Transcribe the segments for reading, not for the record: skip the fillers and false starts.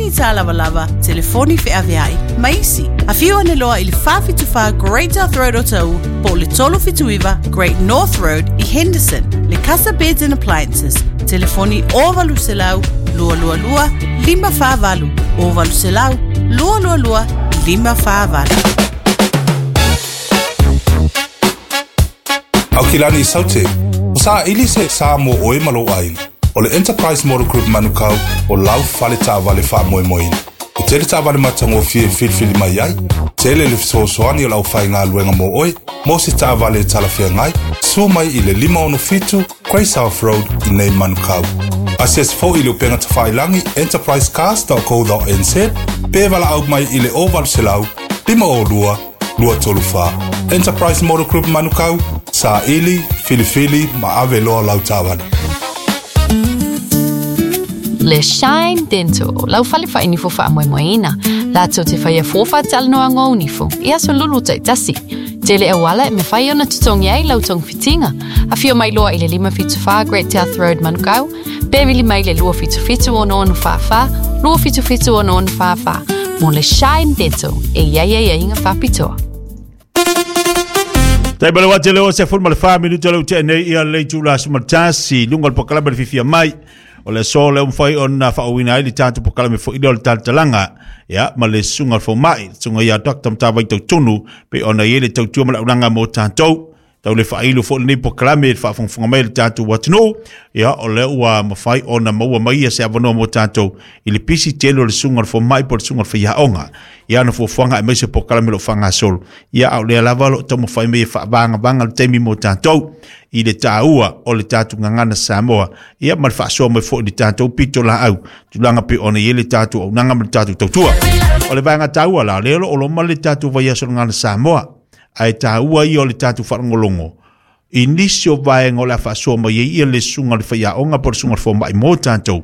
masini tālavalava, telefoni feaveai, ma isi. Afio ane loa i le 474 Great South Road o Ta'u po o le 379 Great North Road i Henderson. Le Casa Beds and Appliances, telefoni 0800 222 548, 0800 222 548. Aukilani Saute, o saili se sa mo oe ma lou aiga. O le Enterprise Motor Group Manukau o lau fale taavale faamoemoeina. E tele taavale matagofie e filifili mai ai, tele le fesoasoani o le aufaigaluega mo oe, mo se taavale e talafeagai, susu mai i le 567 Grey South Road i nei Manukau. Asiasi foi i le upega tafailagi enterprisecars.co.nz pe valaau mai i le 0800 502 234. Enterprise Motor Group Manukau, saili, filifili ma ave loa lau taavale. Le Shine Dental, lau fale whainifo whaamoemoeina. Lātou te whaia fōwha talanoa ngō nifo, i aso lulu taitasi. Tele auala e mawhai ona tutongi ai lau togafitiga. Afio mai loa i le 574 Great South Road Manukau, pe vili mai le 277 6644, 277 6644, mo le Shine Dental e iai ai aiga faapitoa. Tai ma le wate le o se fulu ma le wha minuta le ute nei ia le itula aso ma le tasi lunga o le polokalame le fiafia mai o le aso lea ua mafai ona faaauina ai le tatou polokalame foi lea o le talatalaga ia ma le susuga o le fomai le susuga ia Dr. Matavai Tautonu pei ona i ai le tautua ma le auaunaga mo tatou tau le faailo foi lenei polokalame i le faafogafoga mai a le tatou atunuu ia o lea ua mafai ona maua mai ia se avanoa mo tatou i le pisi tele o le susuga o le fomai po o le susuga o le faiaoga ia ana fuafuaga aemaise polokalame o lo o faagasolo ia a o lea lava o lo o taumafai mai e faavagavaga le taimi mo tatou i le taua o le tatou gagana Samoa ia ma le faasoa mai foi i le tatou pitolaau tulaga pei ona i ai le tatou auaunaga ma le tatou tautua. O le vaega taua la, lea o lo o loma le tatou vaiaso o le gagana Samoa, ae taua ia o le tatou faalogologo i nisi o vaega o le a faasoa mai ai ia le susuga o le faiaoga po o le susuga o le fomai mo tatou.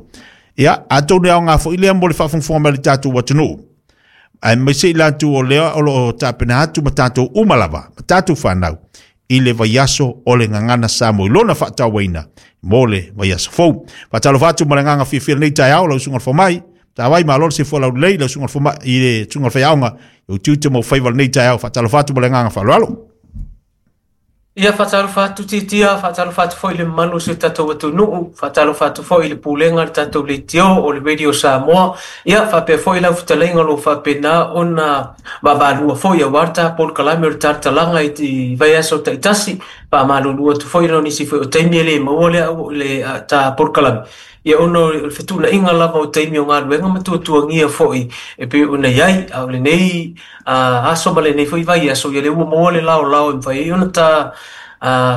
Ia, atonu e aoga foi lea mo le faafogafoga mai a le tatou atunuu, aemaise i latou o lea o lo o tapena atu ma tatou uma lava, ma tatou fanau, i le vaiaso o le Gagana Samoa i lona faatauaina mo le vaiaso fou. Faatalofa atu ma le agaga fiafia lenei taeao lau susuga i le fomai, Tavai malo le soifua laulelei lau susuga i le fomai i le susuga i le faiaoga i ou tiute ma ou faiva lenei taeao. Faatalofa atu ma le agaga faaaloalo. Ia faatalofa atu Titia, faatalofa atu foi i le mamalu o si o tatou atunuu, faatalofa atu foi i le pulega a le tatou leitio o le Radio Samoa, ia faapea foi lau fetalaiga o lo o faapena ona vaavaalua foi aua le ta polokalame o le talatalaga i vaiaso taitasi. Faamalulu atu foi ona o nisi foi o taimi e le maua le, le ta polokalame, ia ona o le fetuunaiga lava o taimi o galuega ma tuatuagia foi e pei ona i ai. A o lenei aso ma lenei foi vaiaso, ia lea ua maua le laolao e mafai ai ona ta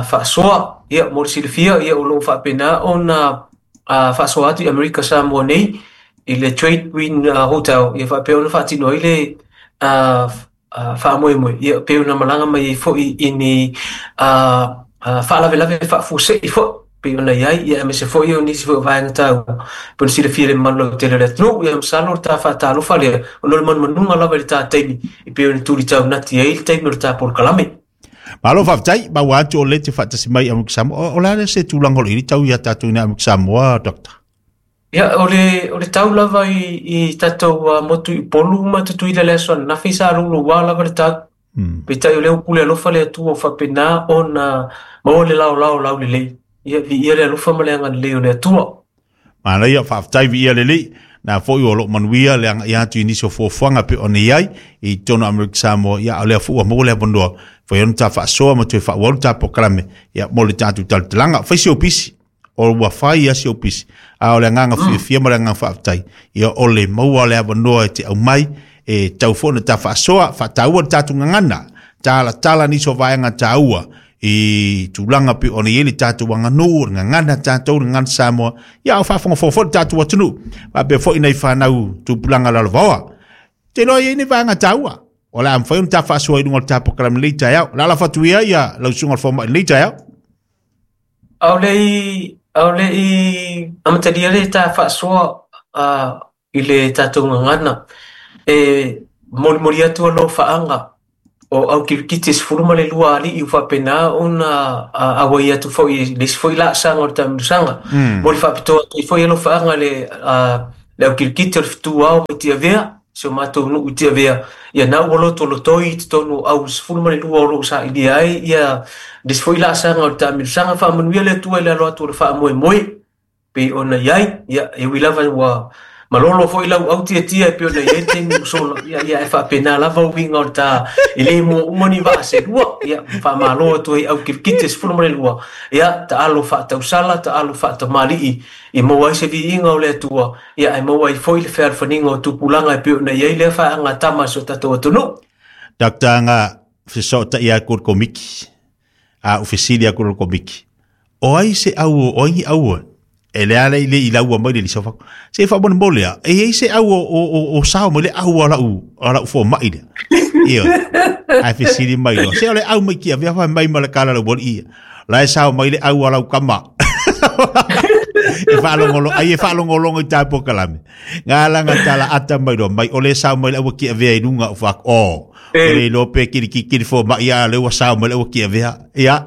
faasoa. Ia mo le silafia, ia o lo o faapena ona faasoa atu i Amerika Samoa nei i le Trade Wind Hotel, ia faapea ona faatino ai le faamoemoe, ia pei ona malaga mai ai foi i ni faalavelave faafuasei foi pei ona i ai, ia aemaise foi o nisi foi o vaega taua pei ona silafia e le mamalu lautele o le atunuu. Ia masalo o le ta faatalofa lea ona o le manumanuga lava i le ta taimi e pei ona tuli taunati ai le taimi o le ta polokalame. Malo faafetai, maua atu o lea e te faatasi mai i Amerika Samoa. O le a se tulaga o lo o i ai tau ia tatou i Amerika Samoa, Doctor? Ia, o le, o le tau lava i, i tatou uh, motu i Upolu ma Tutuila le aso ananafi sa louloua lava le tau. Mm. Peitai o lea ua pule alofa le Atua ua faapena ona maua le laolao laulelei. Ia, viia le alofa ma le agalelei o le Atua. Manaia, faafetai viia le Alii. Na foi o lo o manuia le agai atu i nisi o fuafuaga pei ona i ai i totonu o Amerika Samoa. Ia, o lea foi ua maua le avanoa, fai ona ta faasoa ma toe faaauau le ta polokalame, ia, mo le tatou talatalaga. Fai si ou pisi, o ua fai ia si ou pisi, a o le agaga fiafia ma le agaga faafetai, ia o le maua o le avanoa e te aumai, e tau foi ona ta faasoa, faataua le tatou gagana, talatala nisi o vaega taua, i tulaga pei ona i ai le tatou aganuu, o le gagana tatou, le gagana Samoa, ia a o faafogafoga foi le tatou atunuu, faapea foi nai fanau tupulaga lalovaoa. Te iloa e i ai ni vaega taua, o le a mafai ona ta faasoa i luga o le ta polokalame i lenei taeao. O le a lafo atu ia ia lau susuga i le fomai i lenei taeao. Aole i amatalia le ta faasoa i le tatou gagana. E molimoli atu alofaaga o au kirikiti e 12 alii ua faapena ona auai atu foi i le isi foi laasaga o le taamilosaga. Moli faapitoa atu ai foi alofaaga i le Le au kilikiti o le fetuao mai Tiavea, si o matou nuu i Tiavea, ia na ua lotolotoi i totonu o au 12 o lo o sailia ai ia le isi foi laasaga o le taamilosaga. Faamanuia le Atua i le alo atu o le faamoemoe pei ona i ai, ia e ui lava ua malolo foi lau au tiatia e pei ona i ai le taimi ua sola, ia ia e faapena lava uiga o le ta e le mua uma ni vaa se lua, ia faamalo atu ai au kilikiti e 12, ia taalo faatausala, taalo faatamalii, ia maua ai se viiga o le Atua, ia ae maua ai foi le fealofaniga o tupulaga e pei ona i ai lea faaaga tama a si o tatou atunuu. Dr. Nga feso'ota'i aku le Komiti, a ou fesili aku le Komiti, o ai se au o ai ni au e le ala i le i laua mai le lisa fa. Se fa mo mo lea, e ai se au o sao mai le au ala u fo mai le. Ia. Ai fesili mai lo. Se o le au mai kia vea fa mai ma le kala le woli ia. La e sao mai le au ala u kama. E whaalongolo, ai e whaalongolongo i tāpo kalame. Ngā langa tala ata mai lo, mai ole sao mai le aua kia vea i lunga o whak, o, ole lo pe kiri ki kiri fo mai a le ua sao mai le aua kia vea. Ia,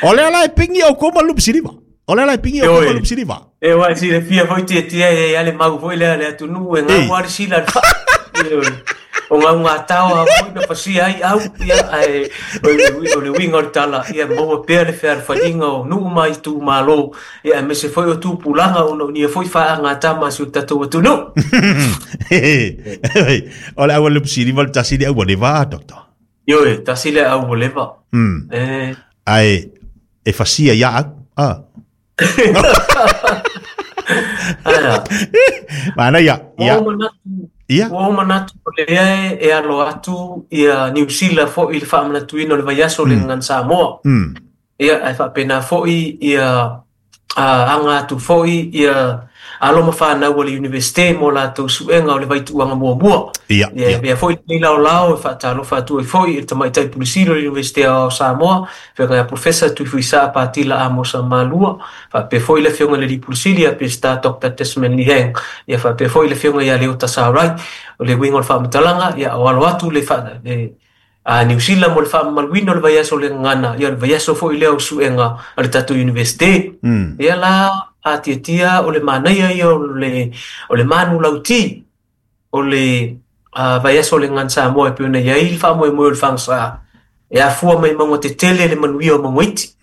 ole ala e pingi au koma lup siriva. Ole ala e pingi au koma lup siriva. E wa si le fia foi tia tia e ale mau foi le ale atunu e ngā wari sila le wha. O ngā ngā tau a foi na pasia ai au ia ai o le winga o le tala ia maua pea le whea whaninga o nuu mai tū malo ia me se foi o tū pulanga o no nia foi wha ngā tama si o tatou atunu. O le aua le pusiri wal tasiri aua le vā, doctor. Ioe, tasi le aua le vā. Ai, e fasia ia au. Ah. Mana ia, ia. Ia. Ua manatu o lea e alo atu ia Niu Sila foi i le faamanatuina o le vaiaso le gagana Samoa. Ia ae faapena foi ia aga atu foi ia alo ma fanau a le Universite mo latou suega o le vaituuaga muamua. Ia, Ia ia foi lenei laolao e faatalofa atu ai foi i le tamaitai pulisili o le Universite o Samoa, afioga ia Professor Tuifuisaa Patila Amosa Malua, faapea foi le afioga i le alii pulisili ia Pesita Dr. Desmond Liheng, ia faapea foi le afioga ia Leota Sarai. O le uiga o le faamatalaga, ia o alo atu le Niu Sila mo le faamamaluina o le vaiaso o le gagana, ia o le vaiaso foi lea o suega a le tatou Universite. Ia la atiatia o le manaia ia o le manu lauti o le vaiaso o le gagana Samoa e pei ona i ai le faamoemoe o le fagasa e afua mai mauga tetele le manuia o mauga iti.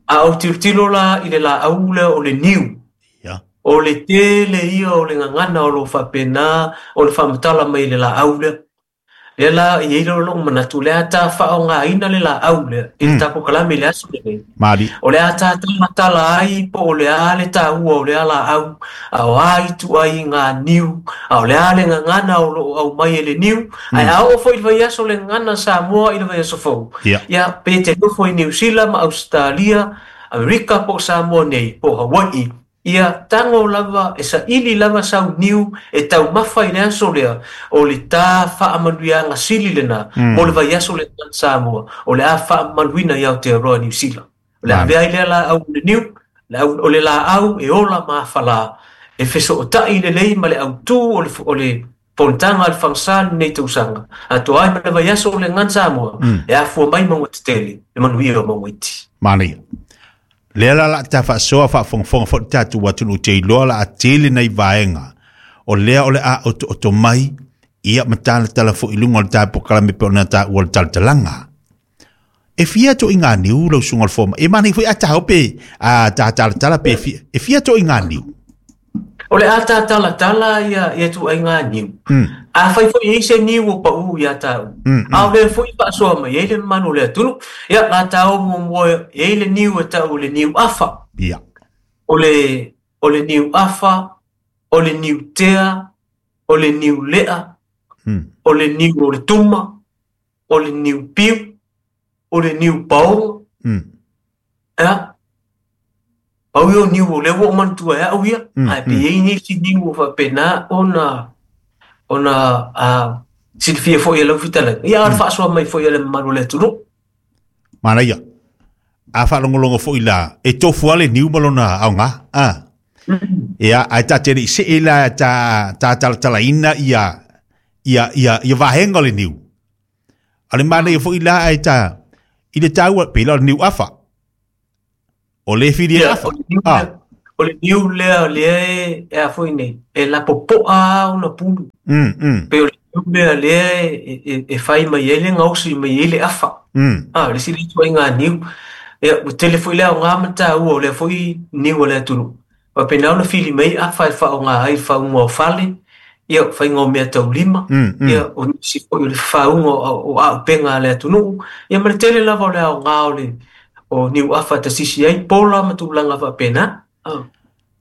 A ou tilotilo la i le laau lea o le niu. O le tele ia o le gagana o lo faapena o le faamatala mai i le laau lea. Lea la i ai lou manatu, le a ta faaaogaina le laau lea i le tatou kalame i le aso lenei. Mali. O le a ta talatala ai po o le a le taua o lea laau, a o a itu ai ngā niu, a o le a le gagana o loo aumai e le niu, ae a oo foi i le vaiaso le gagana Samoa i le vaiaso fou. Ia, pe te nofo i Niu Sila ma Australia, Amerika po o Samoa nei, po o Hawaii, ia tago lava e saili lava sau niu e taumafa i le aso lea o le ta faamanuiaga sili lena mo le vaiaso le gagana Samoa o le a faamamaluina i Aotearoa Niu Sila. O le avea ai lea laau o le niu, o le laau e ola mafalā e fesootai lelei ma le autū o le fonotaga a le fagasa lenei tausaga atoa ai ma le vaiaso o le gagana Samoa e afua mai mauga tetele le manuia o mauga iti. Manaia. Lea la la ta faasoa faafogafoga foi le tatou atunuu te iloa la a tele nai vaega o lea o le a otooto mai ia ma talatala foi i luga o le tapokalame pe ona taua o le talatalaga. E fia to i ngā niu lau susuga o le fomai. E manaia foi a tāo pe a tā talatala pe fia, e fia to i ngā niu. O le a tā talatala ia ia tu ai ngā niu. A fai foi e se niu o pau ia tāu. A o le foi faasoa mai ai le mamalu o le atunuu. Ia la tāo muamua e ai le niu e tau le niu afa. Ia. O le niu afa, o le niu tea, o le niu lea, o le niu o le tuma, o le niu piu, o le niu paoga. Ia. Pau ia o niu o lea ua ou manatua ai au ia. Ae pe i ai nisi niu o faapena ona silafia foi e lau fetalaiga. Ia a le faasoa mai foi e le mamalu o le atunuu. Manaia. A faalogologo foi la e tofu lava le niu ma lona aoga. Ia ae ta te le i see la ta talatalaina ia ia vaega o le niu. A le manaia foi la ae ta i le taua pe la o le niu afa. O le whiri e afa. O le niu lea lea e a foi nei, e lapopoa lava ona pulu. Pei o le niu lea lea e fai mai ai le gaosi mai ai le afa. A, o le isi lea ituaiga niu. Ia, ua tele foi le aoga ma le taua o lea foi niu a le atunuu. Faapena ona fili mai afa e faaaoga ai i le faauga o fale, ia, faiga o meataulima, ia, o nisi foi o le faauga o aupega a le atunuu, ia ma le tele lava o le aoga o le o niu afa e tasisi ai pola ma tulaga faapena.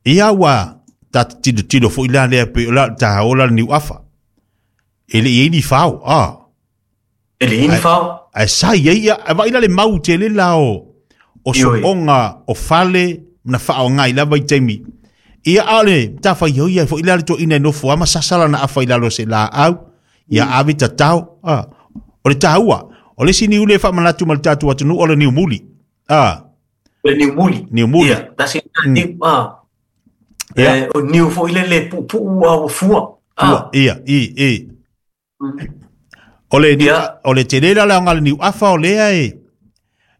Ia ua ta tilotilo foi la lea pei o la taola le niu afa. E le i ai ni fao, a. E le i ni fao. Ae sa i ai ia, e vaai la le mau tele la o soonga o fale na faaaoga i lava i taimi. Ia a o le matafaioi ia foi la le toeaina e nofo lava ma sasa lana afa i lalo o se laau, ia ave tatao. A, o le taua, o le isi niu lea e faamanatu ma le tatou atunuu o le niu muli. A. Le niu muli. Niu muli. Ia, tasi lena niu. A. Ia. O niu foi lele e puupuu a ua fua. Fua, ia, i, i. O le, o le tele la le aoga o le niu afa o lea e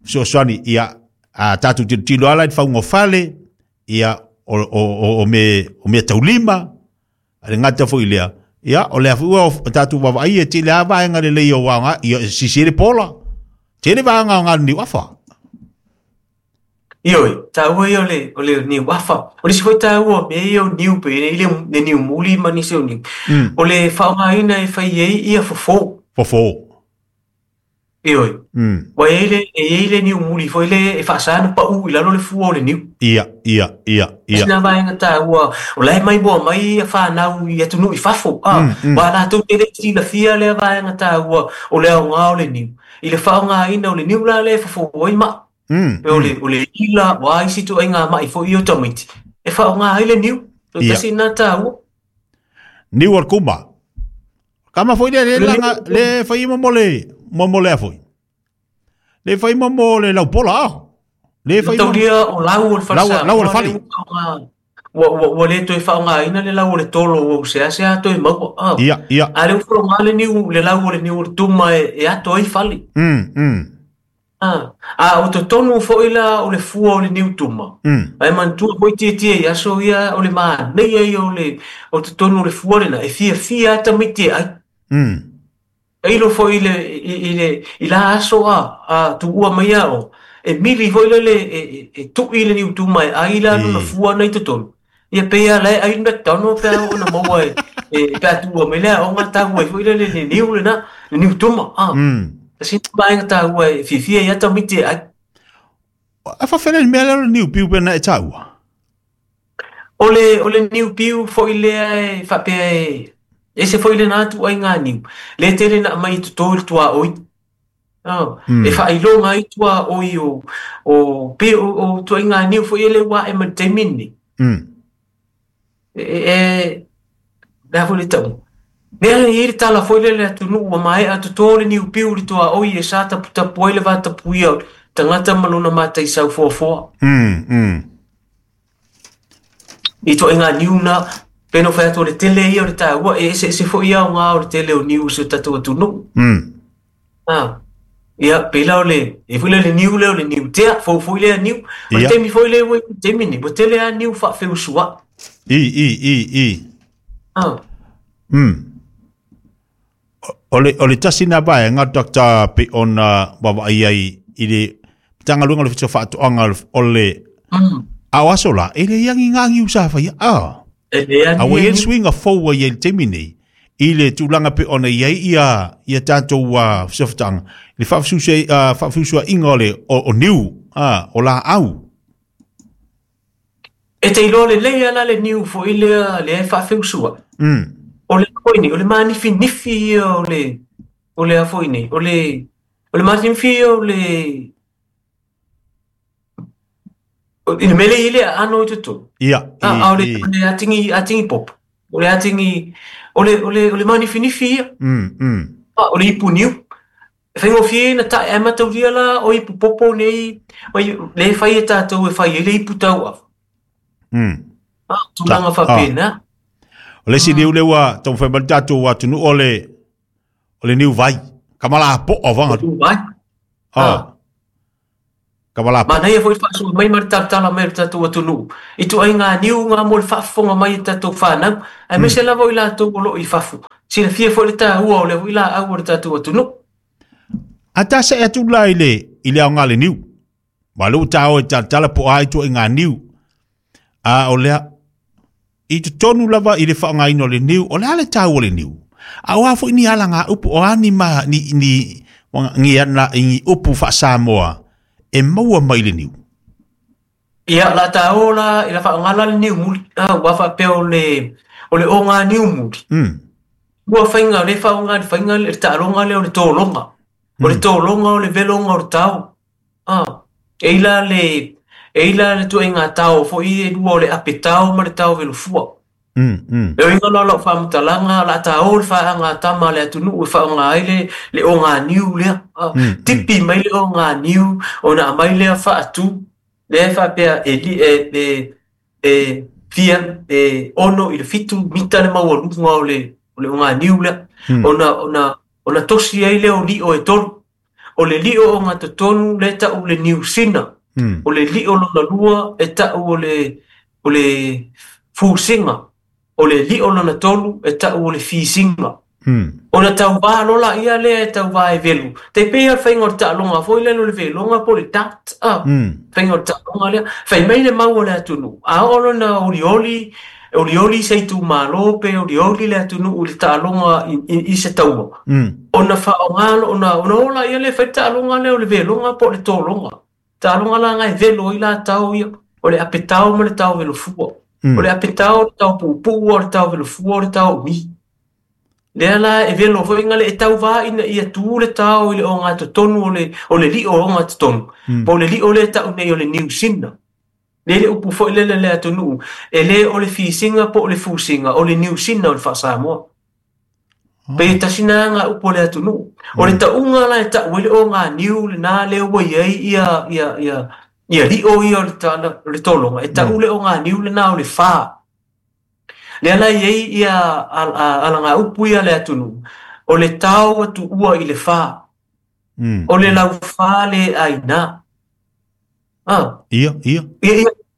fesoasoani ia a tatou tilotilo ala i le fauga o fale, ia o mea taulima, a le gata foi i lea, ia o lea foi ua tatou vaavaai e tele lava vaega lelei o aoga, ia sisi ai le pola. Tele vaega aoga o le niu afa. Ioe, taua ia o le niu afa. O le isi foi taua o mea ia o niu pei nei le niu muli ma nisi o niu. O le faaaogaina e fai ai ia fofo. Fofo. Ioe. Ua i ai le, e i ai le niu muli foi lea e faasa ona pau i lalo le fua o le niu. Ia, ia, ia, ia. Tasi lena vaega taua, o la e maimoa mai ia fanau i atunuu i fafo, aua latou te le silafia lea vaega taua o le aoga o le niu. I le faaaogaina o le niu la lea e fofo ai mai. Pei o le ila, o a isi ituaiga mai foi ia o tamaiti, e faaaoga ai le niu. O tasi lena taua. Niu o le kuma. Kama foi le le langa le fai mo le mo mo le foi. Le fai mo mo le laupola a. Le fai mo Taulia o lau o le fale lau o le fale. Ua le toe faaaogaina le lau o le tolo ua useasea toe maua. Ia, ia. A lea ua faaaoga le niu le lau o le niu o le tuma e ato ai fale. A o totonu foi la o le fua o le niu tuma. Ae manatua foi tietie i aso ia o le manaia ia o le o totonu o le fua lena e fiafia lava tamaiti e ai. Tailo foi i le i le i la aso a tuua mai a o e mili foi lele e tui le niu tuma e ai la lona fua na i totonu. Ia pei lava la e ai le McDonald pe a oo ina maua e pe a tuua mai le aoga tau ai foi lele le niu lena, le niu tuma. Tasi lena vaega taua e fiafia ai lava tamaiti e ai. A faafefea le mea lea o le niu piu pe na e taua? O le niu piu foi lea e faapea e ese foi lena ituaiga niu, lea tele na aumai i toto i le tuaoi. E faailoga ai tuaoi o pei o ituaiga niu foi lea ua ae mai le taimi lenei. E le a foi le tauga. Mea e i ai le tala foi lea i le atunuu ua maea toto le niu piu i le tuaoi e sa taputapu ai le vatapuia o le tagata ma lona mataisau foafoa. I ituaiga niu na, pei ona ou fai atu o le tele ia o le taua, e eseese foi aoga o le tele o niu i si o tatou atunuu. Ia, pei la o le, e foi lea le niu lea o le niu tea, fou foi lea niu. O le taimi foi lea ua i le taimi nei, ua tele lava niu faafeusuai. I, i, i, i. O le tasi lena vaega, Doctor, pei ona vaavaai ai i le Matagaluega o le Ofisa o Faatoaga o le a o aso la, e leai ni ngā niu sa whaia. E leai A ua i ai le suiga fou ua i ai i le taimi nei, i le tulaga pei ona i ai ia tatou fesootaiga, i le faafeusuaiga o le o niu, o laau. E te iloa lelei lava la le niu foi lea lea e faafeusuai. O le a foi nei, o le manifinifi ia o le o le a foi nei, o le o le manifinifi ia o le i le mea lea e i ai le aano i totonu. Ia, A o le o le atigi atigi popo, o le atigi o le o le o le manifinifi ia. A o le ipu niu. E faigofie ona tae ae mataulia la o ipu popo nei lea e fai e tatou e fai ai le ipu tauava. A, tulaga faapena. O le isi niu lea ua taumafai mai le tatou atunuu o le niu vai. Kamala po'a vanga. Niu vai. Kavalapa. Manaia foi le faasoa mai ma le talatala mai o le tatou atunuu i ituaiga niu ga mo le faafofoga mai e tatou fanau, aemaise lava o i latou o loo i fafo. Silafia foi le taua o lea foi laau o le tatou atunuu. A ta se atu la i le aoga le niu. Ma le ta o e talatala po ai tu ngā niu. A o lea i totonu lava i le faaaogaina o le niu, o le a le taua o le niu. A o a foi ni ala ngā upu o ani ma ni ni ni ana i upu faasamoa e maua mai le niu. Ia la taua la i la faaaogala le niu muli, ua faapea o le oga niu muli. Ua faiga le faaaoga le faiga le taaloga lea o le tologa. O le tologa o le veloga o le tao. E ila le tuaiga tao foi e lua o le ape tao ma le tao velofua. E oiga la lau faamatalaga la taua le faaagatama le atunuu e faaaoga ai le oga niu lea. Tipi mai le oga niu ona aumai lea faatu lea e faapea e fia e 6 i le 7 mita le maualuga o le oga niu lea. Ona tosi ai lea o lio e tolu. O le lio o gatotonu le tau le niu sina. O le lio lona lua e tau o le fusinga. O le lio lona tolu e tau o le fisinga. Ona tauvā lola ia lea e tauvā e velu. Te pei le faiga o le taaloga foi lea le veloga po le dart. Faiga o le taaloga lea. Fai mai le mau o le atunuu. A oo lona olioli, olioli se itumalo pe olioli le atunuu i le taaloga i se taua. Ona faaaoga ona ola ia le fai taaloga lea o le veloga po o le tologa. Taaloga la ngai velo ai la tau ia. O le apetao ma le tao velofua. O le apetao o le tao puupuu o le tao velofua o le tao umi. Lea la e velo foi ngale e tauvā ina ia tu le tao i le ogatotonu o le lio o ogatotonu. Po o le lio le tau nei o le niu sina. Le le upu foi lele le atunuu. E le o le fisinga po o le fusinga o le niu sina o le faasamoa. Pe tasina ngā upu o le atunuu. O le tauga la e tau ai le oga niu le nā lea ua iai ia ia lio ia o le tologa. E tau le oga niu le nā o le whā. Lea la iai ia ala ngā upu ia le atunuu. O le tau atu ua i le whā. O le lau whā le aina. Ia.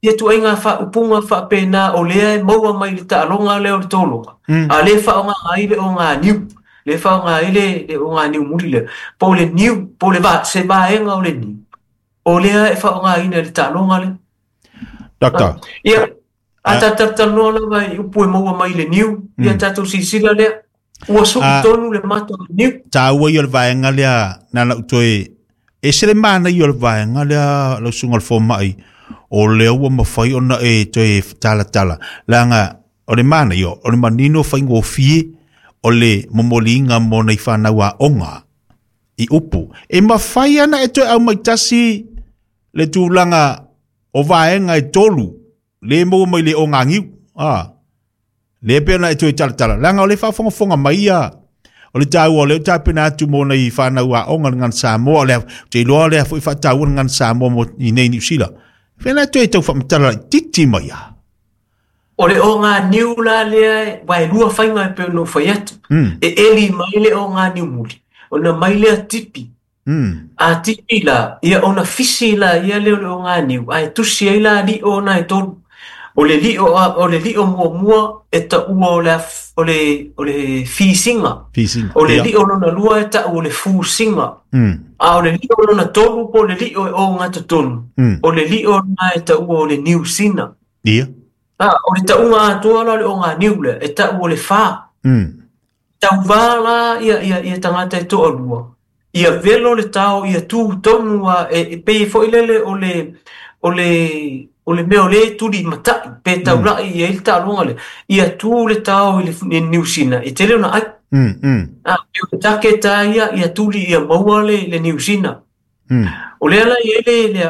Ia tuaiga faaupuga faapena o lea e maua mai le taaloga lea o le tologa. A le faaaoga ai le oga niu. Le faaaoga ai le oga niu muli lea. Po o le niu, po o le se vaega o le niu. O lea e faaaogaina i le taaloga lea. Doctor. Ia, a tatalanoa lava i upu e maua mai le niu. Ia tatou silasila lea. Ua sui tonu le mata o le niu. Taua ia o le vaega lea na lau toe e se le mana ia o le vaega lea lau susuga o le fomai. O lea ua mafai ona e toe talatala. Leaga o le mana ia, o le manino faigofie o le momoliga mo nai fanau aoga i upu. E mafai ana e toe aumai tasi le tulaga o vaega e tolu le maua mai le ogagiu. Le pe ona e toe talatala. Leaga o le faafogafoga mai ia o le taua o lea o tapena atu mo nai fanau aoga le gagana Samoa. O lea te iloa lea foi faataua le gagana Samoa mo i nei Niu Sila. Fena toe tau faamatala laitiiti mai ia. O le oga niu la lea, ua e lua faiga e pei ona ou fai atu. E eli mai le oga niu muli. Ona mai lea tipi. A tipi la, ia ona fisi la ia lea o le oga niu. Ae tusi ai la lio ona e tolu. O le lio muamua e taua o le fisinga. O le lio lona lua e taua o le fusinga. A o le lio lona tolu po o le lio e ogatotonu. O le lio na e taua o le niu sina. Ia. O le tauga atoa la o le oga niu lea e taua o le whā. Tauvā la ia tagata e toalua. Ia velo le tao, ia tū tonu a e pei foi lele o le mea o le tuli matai, pe taulai ia i le taaloga lea. Ia tū le tao i le niu sina, e tele ona ai. Pe o take tā ia tuli ia maua le niu sina. O lea la ia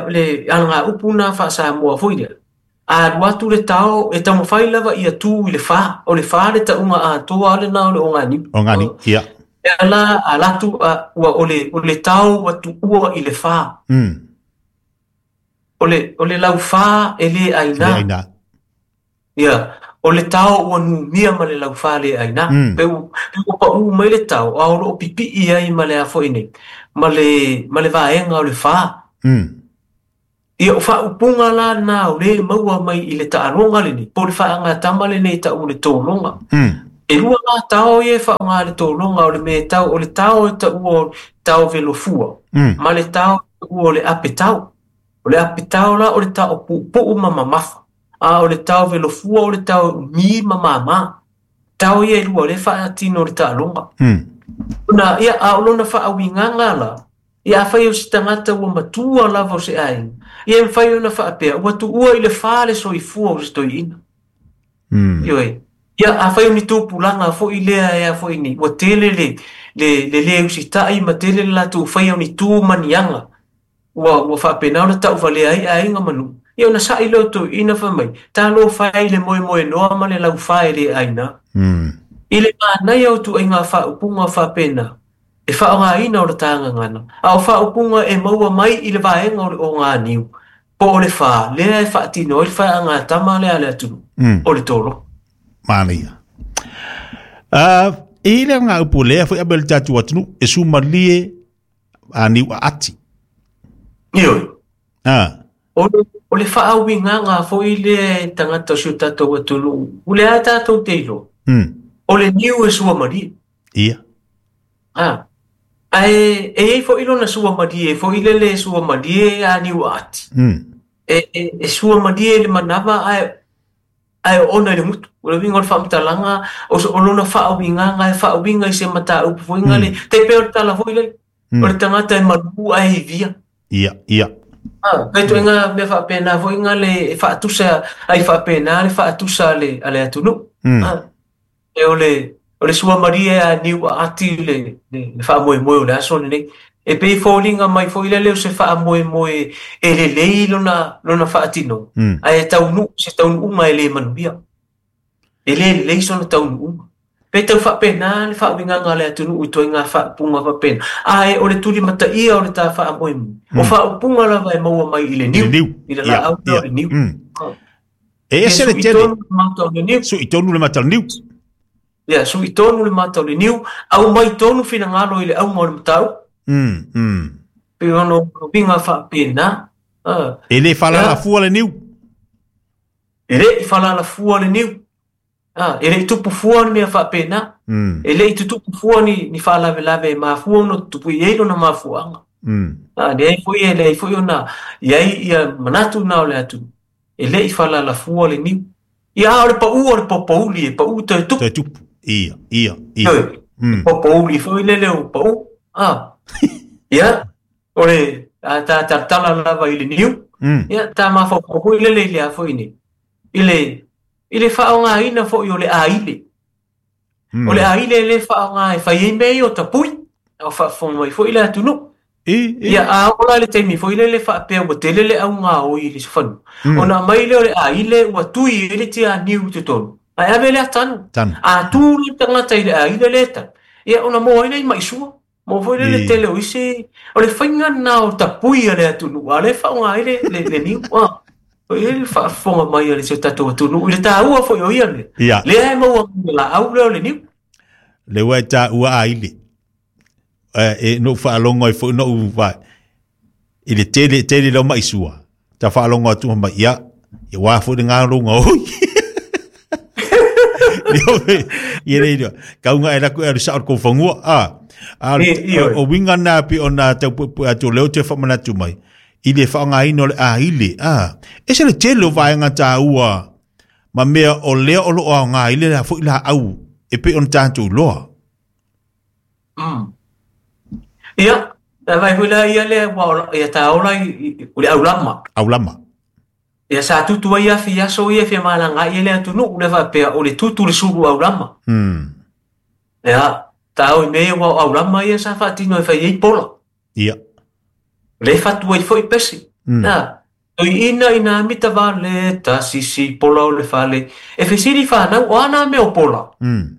le ala ngā upu na faasamoa foi lea. A alu atu le tao e taumafai lava ia tū i le whā. O le whā le tauga atoa le nā o le oga niu. Oga niu, ia. E ala alatu ua o le tao atu ua i le whā. O le lau whā e le aina. Ia, o le tao ua numia ma le lau whā le aina. Pe ua pau mai le tao, a o loo pipii ai ma le afoine. Ma le vaenga o le whā. Ia o faaupuga la na o le maua mai i le taaloga lenei, po o le faagatama lenei ta'u o le tologa. E lua la tao ia e faaaoga le tologa o le mea e tau o le tao e ta'ua o tao velofua, ma le tao e ta'ua o le apetao. O le apetao la o le tao puupuu ma mamafa, a o le tao velofua o le tao e umi ma māmā. Tao ia e lua o lea e faatino i le taaloga. Ona ia a o lona faauigaga la, ia afai o se tagata ua matua lava o se aiga, ia e mafai ona faapea ua tuua i le fa le soifua o se toeaina. Ioe. Ia afai o ni tupulaga foi lea e a foi ni, ua tele le le le le usitai ma tele le latou faia o ni tu ma ni aga, ua faapena ona tauvalea ai aiga ma nuu. Ia ona sa'i lea o toeaina fai mai, talofa e i le moemoenoa ma le laufa e le aina. I le manaia o ituaiga faaupuga faapena, e faaaogaina o le tagagana, a o faaupuga e maua mai i le vaega o le oganiu, po o le fa, lea e faatino ai le faagatama lea a le atunuu, o le tolo. Manaia. E le ngā upu lea foi abe le tātou atunuu, e sumalie a niu a ati. Ioe. Ah. O le faauigaga foi lea e tagata o si o tatou atunuu, o le a tatou te iloa, o le niu e suamalie. Ia. Ah. Ae e iai foi lona suamalie foi lele e suamalie a niu a ati. E suamalie le manava ae oona i le gutu. O le uiga o le faamatalaga, o lona faauigaga e faauiga i se mataupu foi le, tai pei o le tala foi lele, o le tagata e malu ae ivia. Ia, ia. Ah, pe ituaiga mea faapena foi le e faatusa ai faapena le faatusa a le atunuu. Ah, e o le suamalie a niu a ati le faamoemoe o le aso lenei. E pei foliga mai foi lele o se faamoemoe e lelei lona faatinoga, ae taunuu se taunuuga e le manuia. E le lelei sona taunuuga. Pe tau faapena le faauigaga a le atunuu i ituaiga faaupuga faapena. Ae o le tulimataia o le ta faamoemoe, o faaupuga lava e maua mai i le niu, Le niu. i le laau lea o le niu. Ah. E ese le Ia, tele. sui tonu le mata o le niu. Sui tonu le mata o le niu. Ia, sui tonu le mata o le niu, au mai tonu finagalo i le auga o le mataupu. Pe ono uiga faapena. Ah. E le faalalafua le niu. E le i faalalafua le niu. Ah, e le i tupu fua ni mea faapena. E le i tutupu fua ni faalavelave e mafua ona tutupu i ai lona mafuaaga. Ah, leai foi e leai foi ona i ai ia manatu na o le atunuu. E le i faalalafua le niu. Ia a o le pau o le popouli e pau toe tupu. Toe tupu. Ia, ia, ia. Ioe. Popouli foi lele o pau. Ah. Ia, o le a ta talatala lava i le niu. Ia, ta mafaufau foi lele i le a foi nei. I le faaaogaina foi o le aile. O le aile le faaaoga e fai ai mea ia o tapui. O faafofoga mai foi le atunuu. E, e. Ia, a oo la le taimi foi lele faapea ua tele le augaoi i le fanua, ona aumai lea o le aile ua tui ai le tianiu i totonu, ae ave lea tanu. Tanu. A tu le tagata i le aile lea tanu, ia ona moa ai lea i maisua. Mo foi lele tele o isi, o le faiga lena o tapui a le atunuu, a o lea e faaaoga ai le niu. Ah. O i ai le faafofoga mai a le si o tatou atunuu i le taua foi o ia mea. Ia. Lea e maua mai le laau lea o le niu. Le ua e tāua aile. E no whaalongo ai foi no u vai. I le tele tele lau mai sua. Ta whaalongo atu mai ia. Ia wā foi le ngā ronga oi. Leo me, ia le ia. Kaunga e laku e aru sa o kou whangua. A, a, I, oi. o winga nā pi o nā tau pu pu atu leo te whamanatu mai. I le whaangaina o le aile. A, e se le tele o vaenga tāua. Ma mea o lea o lo o ngā ile la foi la au. E pe on tātou loa. Ia, na vai foi la ia lea ua ola, ia tā ola i o le aulama. Aulama. Ia sa tutu ai afi aso ia fia malanga ia le atunuu le faapea o le tutu le sulu aulama. Ia, tā oi mea ua o aulama ia sa faatino e fai ai pola. Ia. Le fatu ai foi pesi. Ia, toi ina ina mita vale, ta sisi pola o le fale. E fesili whanau, o ana mea o pola.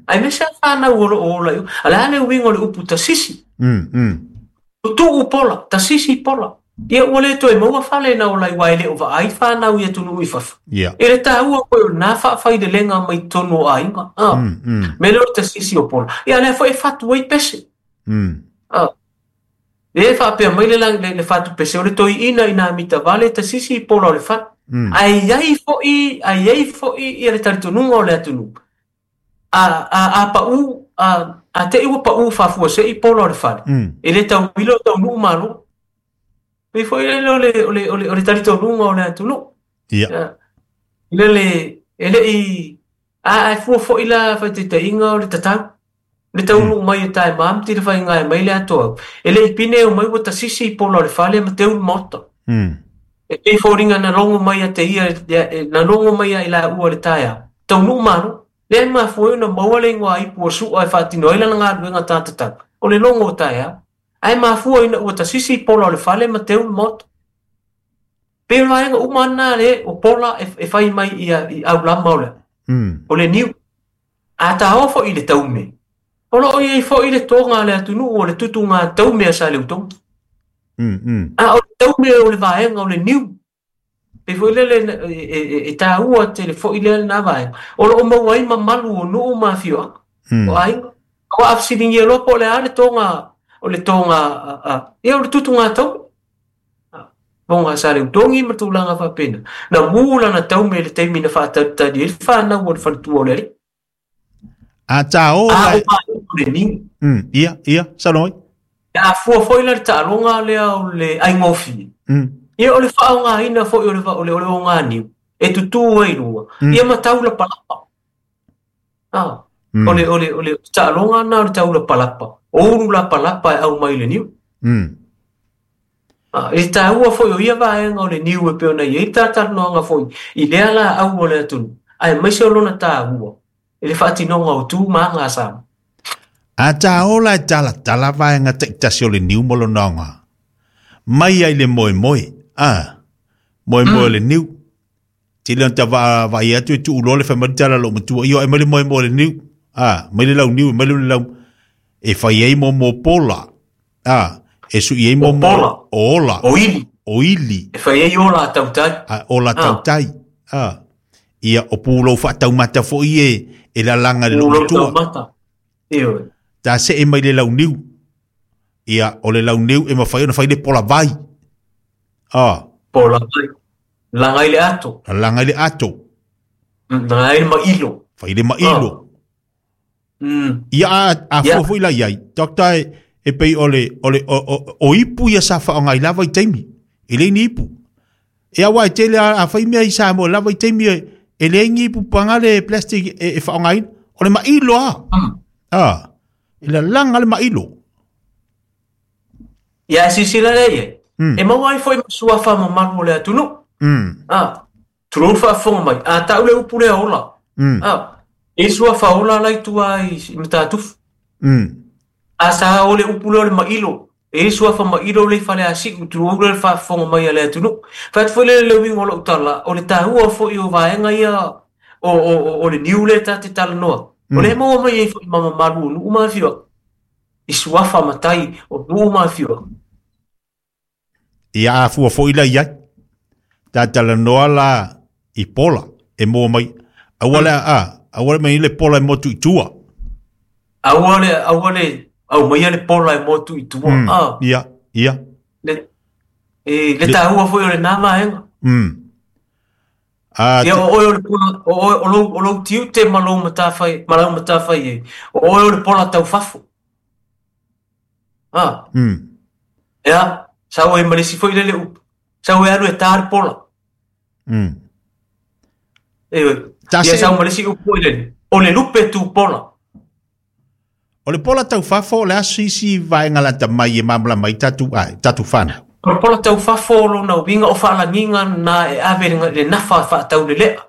Ai me se whanau o lo o ola iu. A le ane uiga o le upu ta sisi. Tutu pola, ta sisi pola. Ia ua le toe maua fale na o lai wai le o vaai whanau ia tunu i fafo. Ia. E le tāua koe o nā whaawhai le lenga mai tonu o aiga. Ah. Me le o ta sisi o pola. Ia lea foi e fatu ai pese. Ah. E faapea mai le le, le fatupese o le toeaina ina mita vale tasisi i pola o le fale. Ae i ai foi, ae i ai foi ia le talitonuga o le atunuu. A, a, a pau, a, a te i ua pau faafuasei pola o le fale, e le tauilo taunuu malo. Pei foi lele o le, o le, o le, o le talitonuga o le atunuu. Ia. Lele, e le i, a, a fua foi la faitaitaiga o le tatau. Le taunuu mai e tae ma te le whainga e mai le atoa. E le i pine o mai ua tasisi i pola o le fale ma teu le maota. E pei foliga na logo mai a te ia, na logo mai a i la ua le taea. Taunuu malo. Lea e mafua ai ona maua le igoa ipu o Su'a e faatino ai lana galuega tatatau, o le logo o taeao. Ae mafua ina ua tasisi i pola o le fale ma teu le maota. Pei o le vaega uma lena le o pola e fai mai i aulama o le, o le niu. A taoa foi i le taume, o lo o i ai foi le toga a le atunuu o le tutuga taume a Saleutogi. A o le taume o le vaega o le niu, pei foi lele e taua tele foi lea lena vaega, o lo o maua ai mamalu o nuu ma afioaga, o aiga. Aua a fesiligia loa po o le a le toga, o le toga, ia o le tutuga taume. Toga a Saleutogi ma tulaga faapena. Na mu lana taume i le taimi na faatalitali ai le fanau o le faletua o le alii. A ta o A la o vaega o le niu. Ia, ia, saunoa mai. A fua foi la le taaloga lea o le aigofie. Ia o le faaaogaina foi o le o le o le oganiu e tutū ai luga, ia ma taulapalapa. Ah, o le o le o le taaloga na o le taulapalapa, o ulu lapalapa e aumai i le niu. Ah, e taua foi o ia vaega o le niu e pei ona i ai talatalanoaga foi i lea laau o le atunuu, aemaise o lona taua i le faatinoga o tu ma aga a Samoa. A ta ola e talatala vaega taitasi o le niu ma lona aoga. Mai ai le moemoe, a, moemoe o le niu. Tele ona ta vaai atu e tuu loa le fai mai le tala a lou matua, io, aumai le moemoe o le niu, a, mai le launiu, mai le lau, e fai ai mo mo pola, a, e sui ai mo O pola. o ola. O ili. O ili. E fai ai ola a tautai. A, ola tautai. A, ia, o pulou faataumata foi e, e lalaga i le lou Pulou matua. taumata. Ioe. Ta see mai le launiu. Ia, o le launiu e mafai ona fai le pola vai. A. Pola vai. Laga i le ato. Laga i le ato. Laga ai le mailo. Fai le mailo. Ia, a fua foi la i ai. Doctor, e pei o le, o le, o, o, o ipu ia sa faaaoga i la vaitaimi. E leai ni ipu. E aua e tele a fai mea i Samoa i la vaitaimi e, e leai ni ipu paga le plastic e, e faaaogaina. O le mailo a. A, e lalaga le mailo. Ia, e silasila lea i ai. E maua ai foi ma suafa mamalu o le atunuu. A, tulou le faafofoga mai. A tau le upu lea ola. A, e suafa ola la i tua i Matatufu. A sa o le upu lea o le mailo. E suafa mailo le i Faleasiu, tulou le faafofoga mai a le atunuu. Fai atu foi lea le uiga o lau tala, o le taua foi o vaega ia o, o, o, o le niu lea ta te talanoa. O lea e maua mai ai foi ma mamalu o nuu ma afioaga. I suafa matai o nuu ma afioaga. Ia a fua foi la i ai. Ta talanoa la i pola e maua mai. Aua le, a, aua le mai le pola e motu i tua. Aua le, aua le, aumaia le pola e motu i tua. A. Ia, ia. Le, e, le taua foi o lena vaega. A, Ia, o oe o le pola, o oe, o lou, o lou tiute ma lou matafai, ma lau matafai ai. O oe o le pola taufafo. A. Ia, sau ai ma le isi foi lele upu. Sau e alu e tā le pola. E oi. Ta Ia, se- sau ma le isi upu foi lele. O le lupe tu pola. O le pola taufafo, o le a se isi vaega lata mai e malamalama ai tatou, ai, tatou whanau. O le pola taufafo o lona uiga o faalagiga na e ave le, le nafa faataulelea.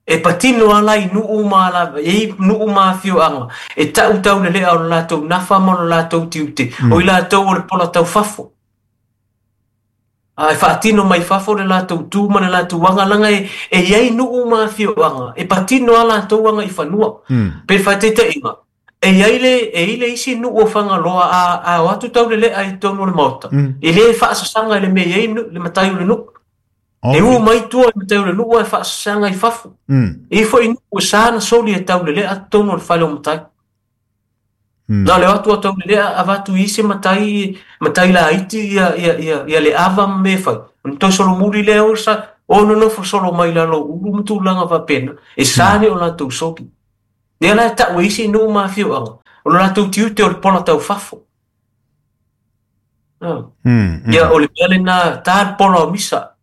E patino ala i nuu ma ala, e i nuu ma afioaga, e tau taulelea o le latou nafa ma o le latou tiute. O i latou o le pola taufafo. A e faatino mai fafo le latou tu ma le latou aga, laga e, e iai nuu ma afioaga, e patino a latou aga i fanua. Pe faataitaiga, e iai le, e i le isi nuu o Fagaloa a, a o atu taulelea i totonu o le maota. E le faasasaga i le mea e i ai le matai o le nuu. E u mai tua i matai o le nuu ae faasasaga i fafo. E i foi nuu e sa na soli e taulelea totonu o le fale o matai. Na o le o atu o Taulealea avatu i isi matai, matai laiti ia, ia, ia, ia le ava ma mea e fai. Ona toe solomuli lea o sa, o nonofo solo mai lalo o ulu ma tulaga faapena, e sa ni o latou soli. Lea la e tau e isi nuu ma afioaga, o lo latou tiute o le pola taufafo. Ia, o le mea lena, ta le pola o Misa.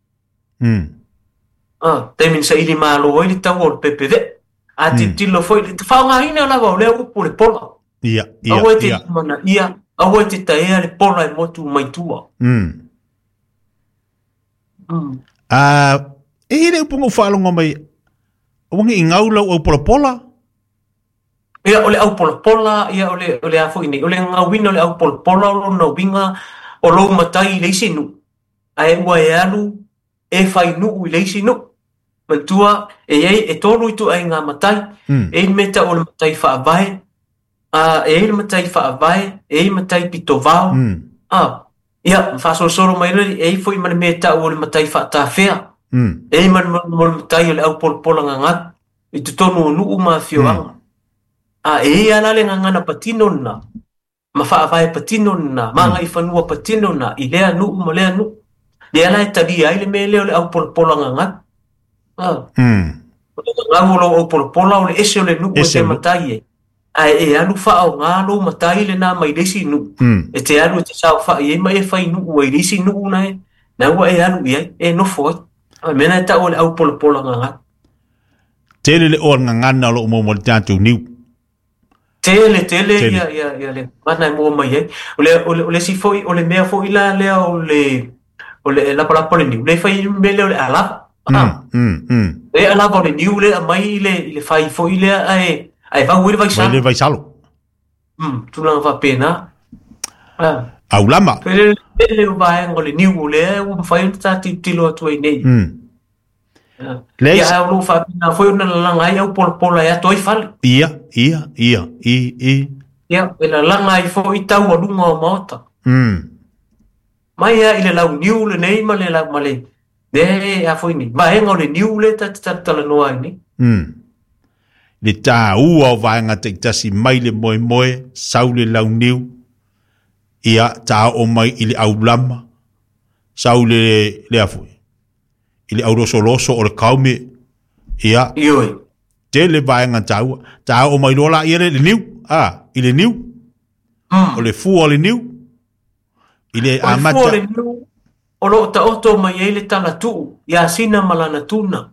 Taimi na saili malo ai le taua o le pepevee. A tilotilo foi, le faaaogaina lava o lea upu o le pola. Ia, ia, Aua e te ia. lumanaia, aua e te taea le pola e motu mai tua. A, e i le upu na ou faalogo mai, aua ne i gau lau aupolapola. Ia, o le aupolapola, ia, o le, o le a foi nei, o le gauina o le aupolapola o lona uiga o lou matai i le isi nuu, ae ua e alu e fai nuu i le isi nuu. Manatua, e i ai, e tolu ituaiga matai. E i ai le mea e tau o le matai faavae, a, e i ai le matai faavae, e i ai matai pitovao. A, ia, ma faasolosolo mai loa, e i ai foi ma le mea e tau o le matai faatafea. E i ai ma le, ma le matai o le aupolapola gagau i totonu o nuu ma afioaga. A, e i ai lava la le gagana patino lena, ma faavae patino lena, ma agaifanua patino lena i lea nuu ma lea nuu. Lea la e talia ai le mea lea o le aupolapola gagau. A. O le gagau o lou aupolapola o le ese o le nuu e Ese te o le nuu. matai ai. Ae e alu faaaoga lou matai lena mai le isi nuu. E te alu e te saofai ai ma e fai nuu ai i le isi nuu na e, na ua e alu i ai, e nofo ai. O le mea lena e tau o le aupolapola gagau. Tele le oa le gagana o lo o maua mai le tatou niu. Tele, tele, Tele. ia, ia, ia le gagana e maua mai ai. O le, o le, o le isi foi, o le mea foi la lea o le, o le lapalapa o le niu, le fai mea lea o le alava. Ah. Le alava o le niu le aumai i le, i le fai foi lea ae, ae vau ai le vaisalo. Vai le vaisalo. Tulaga faapena. Ah. Aulama. Le, le, le vaega o le niu o lea ua mafai ona ta tilotilo atu ai nei. Ah. Le Ia, ae o lo o faapena foi ona lalaga ai aupolapola e ato ai fale. Ia, ia, ia, i, i. Ia, e lalaga ai foi taualuga o maota. Mai lava i le launiu lenei ma le lau, ma le, le, a foi nei, vaega o le niu le ta te talatalanoa ai nei. Le tāua o vaega taitasi mai le moemoe, sau le launiu, ia tā o mai i le aulama, sau le, le a foi, i le aulosoloso o le kaume, ia, Ioe. tele vaega tāua, tā o mai loa la ia le, le niu, a, i le niu, o le fua o le niu, i le O le fua o amata. le niu, o loo taoto mai ai le talatuu, ia Sina ma lana tuna.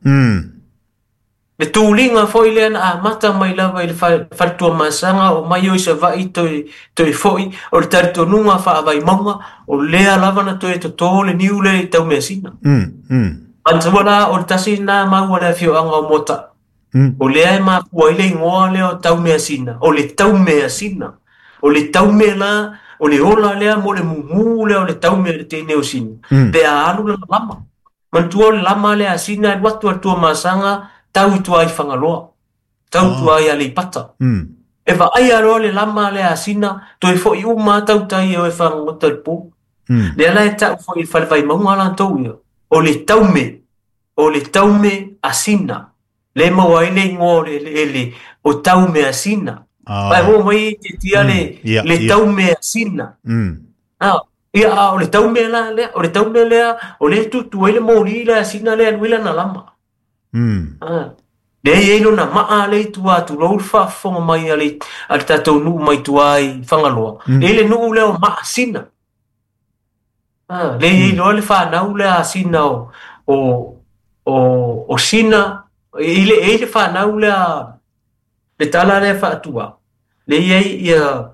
Le tuliga foi lea na amata mai lava i le faletuamasaga o mai o i Savaii toe, toe foi, o le talitonuga faavaimauga, o lea lava na toe totō le niu lea i Taumeasina. Manatua la, o le tasi lena mau a le afioaga o Moata'a. O lea e mafua ai le igoa lea o Taumeasina, o le Taumeasina. O le taume la, o le ola lea mo le mumu lea o le taume o le teine o Sina, pe a alu lana lama. Manatua o le lama lea a Sina e alu atu a le Tuamasaga, tau i tua i Fagaloa, tau i tua i Aleipata. E vaaia loa le lama lea a Sina, toe foi uma lava tautai e o e fagogota i le po. Lea la e tau foi i le falevaimauga latou ia, o le taume, o le taume a Sina. Le maua ai le igoa o le eleele o Taumeasina. Vai oo mai e tiatia le, le Taumeasina. Ah, ia, a o le taume la lea, o le taume lea, o lea e tutu ai le moli lea a Sina lea e alu ai lana lama. Ah, lea e i ai lona maa lea i tua atu, lou le faafofoga mai a le, a le tatou nuu mai tua i Fagaloa. E i ai le nuu lea o Maasina. Ah, lea e i ai loa le fanau lea a Sina o, o, o, o Sina, e i ai le, e i ai le fanau lea, le tala lea faatua, lea e i ai ia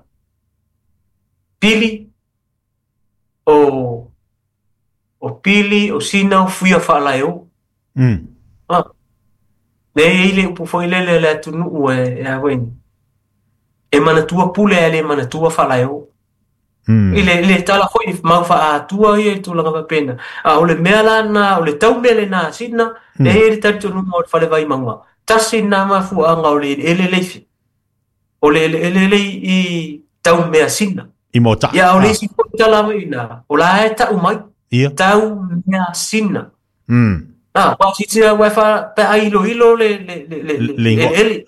Pili, o, o Pili, o Sina, o Fuia Faalaeo. Ah, lea e i ai le upu foi lele a le atunuu e, e a foi nei, e manatua pule ae le manatua faalaeo. I le, le tala foi mau faaatua ia i tulaga faapena. A o le mea la lena, o le taume lena a Sina, lea e i ai le talitonuga o le falevaimauga. Tasi lena mafuaaga o le eleele le i, o le eleele le i Taumeasina. I Moata'a. Ia, o le isi foi tala mai ina, o la e tau mai, Taumeasina. Ah, ua silasila ua e fa, pe a iloilo le, le, le, le, le Le igoa. eleele.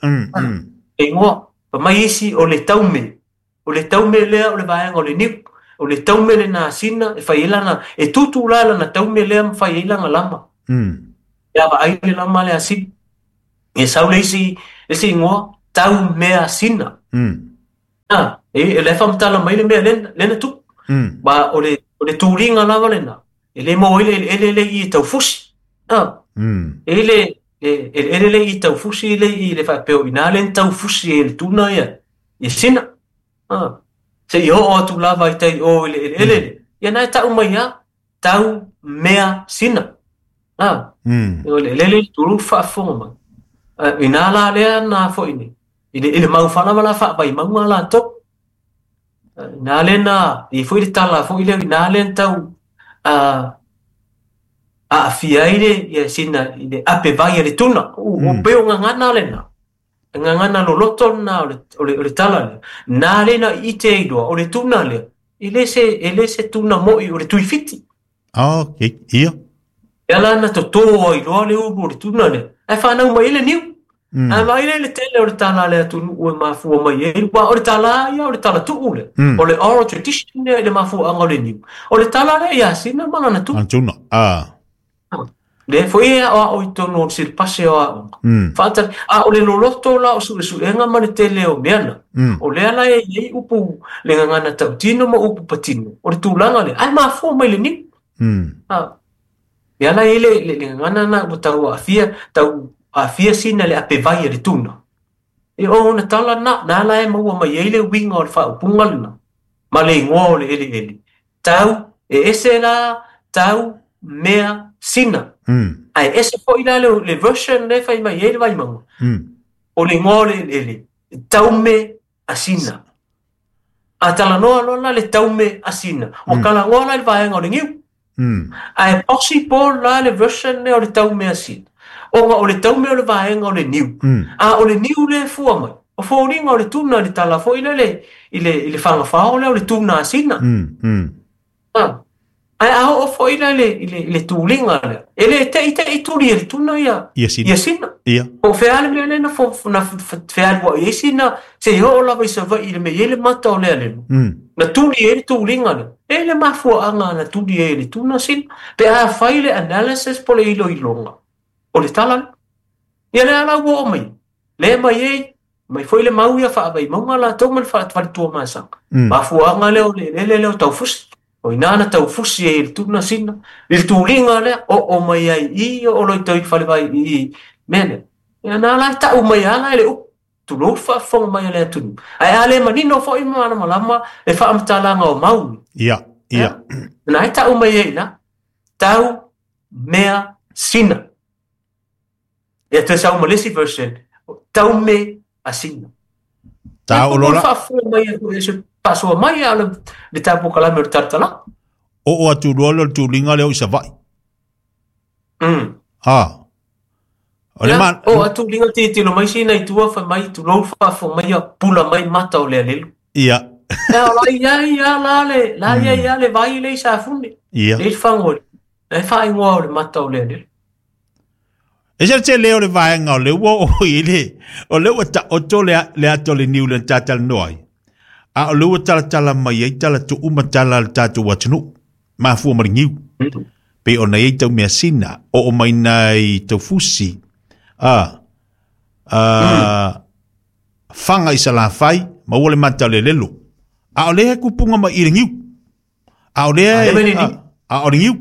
Le igoa. Fa mai isi o le taume. O le taume lea o le vaega o le niu. O le taume lena a Sina e fai ai lana, e tūtū la lana taume lea ma fai ai lana lama. E vaai le lama lea a Sina. E sau le isi, le isi igoa, taumea Sina. E le faamatala mai le mea lena tupu. Ma o le tuliga lava lena. E le maua ai le eleele le i e taufusi. E le eleele le i taufusi le i le faapea o ina le taufusi e le tuna ia. I Sina. Se i oo atu lava i tai o i le eleele le. Ia nai tau mai ia, tau mea Sina. O le eleele le tulu faafofoga mai. Ina la lea na foi nei. I le maufala ma la whaawai maunga la tō. Nā le nā, i foi le tala foi leo, nā le tau a fia i le, ia sina, i le ape vai a le tuna. O peo ngā ngana le nā. Ngā ngana loloto nā o le tala le. Nā le nā i te iloa, o le tuna le. E le se tuna moi o le tuifiti. Ok, ia. E ala na tō iloa le ulu o le tuna le. E whanau mai le niu. A mai le tele o le tala le atunu ue mafua mai e ua o le tala ia o le tala tuu le. O le oral tradition le mafua anga o le niu. O le tala le ia sina mana na tuu. Antuna, Le foi e o i tonu o silpase o a Whaatari, a o le loloto la o suesuenga ma le tele o meana. O lea la e iei upu le ngangana tautino ma upu patino. O le tūlanga le, ai mafua mai le niu. Ia la e le ngangana na o tau afia, tau afia sina le ape vai a le tuna. E o na tala na, nā la e maua mai ei le winga o le whaupunga lena. Ma le ingoa o le ele ele. Tau, e ese la, tau, mea, sina. Ai ese foi la le version le whai mai ei le vai maua. O le ingoa o le ele ele. Tau me a sina. A tala noa loa la le tau me a sina. O kala ngoa la le vaenga o le ngiu. Ai possible la le version le o le tau me a sina. O o le taume o le vaenga o le niu. A o le niu le fua mai. O fōringa o le tuna le tala foi le i le whangawhao le o le tuna a sina. Ai a o foi le i le tūlinga le. E le te i turi e le tuna ia. Ia sina. Ia. O wheale mea le na wheale wa i sina se i ho o lava i sa vai i le me i le mata o lea lelo. Na turi e le tūlinga le. E le mafua anga na turi e le tuna sina. Pe a whai le analysis po le ilo ilonga. O le tala, ia le ala ua o mai. Le mai ei, mai foi le mau ia whaawai maunga la tau ma le whaatwharitua maasanga. Mafuanga leo le lele leo taufusi. O inana taufusi e le tuna sina. Le tūlinga lea, o mai ai i o loi tau i whalewai i mene. Ia nā lai tau mai ala e le upu. Tulou whaafonga mai ale atunu. Ai ale manino fo i mana malama e whaamatalaga o maui. Ia, ia. Nā e tau mai ei na, tau mea sina. Ia te sau malesi version, tau me a sina. Tau lola. Whaafonga mai e se pasoa mai a le tapo kalame o le tartala. O atu loa le tūlinga leo i Savai. O le man... O atu linga te tilo mai sina i tua whai mai, tu lou whafo mai a pula mai mata o lea lelu. Ia. Ia, la ia ia la le, la ia ia le vai le i safune. Ia. Le whango, le whaingoa o le mata o lea lelu. E se te leo le vaenga o le ua o i le, o le ua ta oto le ato le niu le tatal noai. A o le ua tala tala mai ai tala tu uma tala le tatu watunu. Mafua maringiu. Pe o nei tau mea sina, o mai nei tau fusi. Whanga i sa la whai, ma ua le mata le lelo. A o lea kupunga mai i ringiu. A o lea, a o ringiu.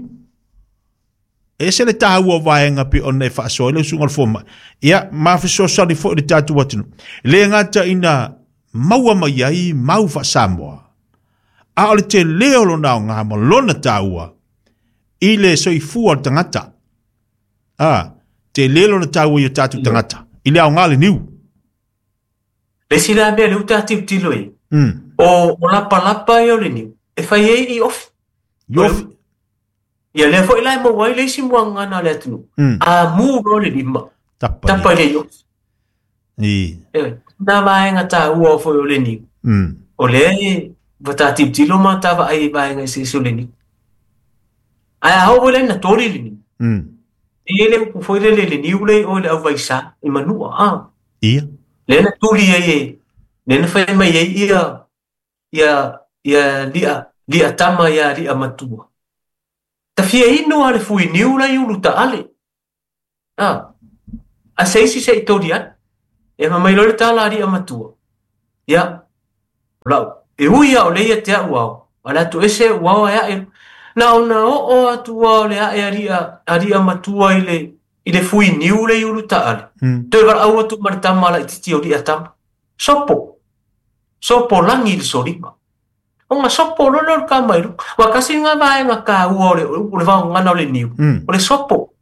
E se le tāua vaenga pe ona e whaasoa le usunga le fōma. Ia, mawhisoasani fo i le tātu watunu. Le ngata ina maua mai ai, mau whaasamoa. A o le te leo lona o ngā ma lona tāua. I le soifua o le tangata. Te lelo na tāua i o tātu tangata. I le au ngā le niu. Le sila mea le uta tiu tilo e. O lapa lapa i o le niu. E whai e i ofi. I ofi. Ia lea foi lai maua i le isi muanga na le atunu. A mū ro le lima. Tapa i le i ofi. Nā vaenga tāua o foi o le niu. O lea e wata tiu tilo ma tāwa ai vaenga i se o le niu. Ai a hau le na tori le niu. E le upu foi le le niu le o le au vaisa i manua. Ia. Le na tuli ai e. Le na whai mai ai ia ia ia lia lia tama ia lia matua. Ta fia inu a le fui niu la i ulu taale. Ah. A se isi se i tori ane. E ma mai loa le tala a lia matua. Ia. Lau. E ui a o leia te au au. A le atu ese u ao e ae. Na ona o o atu ao le ae a lia matua i le fui niu le i ulu taale. Toe wala au atu ma le tama la i titi o lia tama. Sopo. Sopo langi le solima. O ngā sopo lolo le ka mai. Wa kasi ngā vaenga ka ua o le vao ngana o le niu. O le sopo.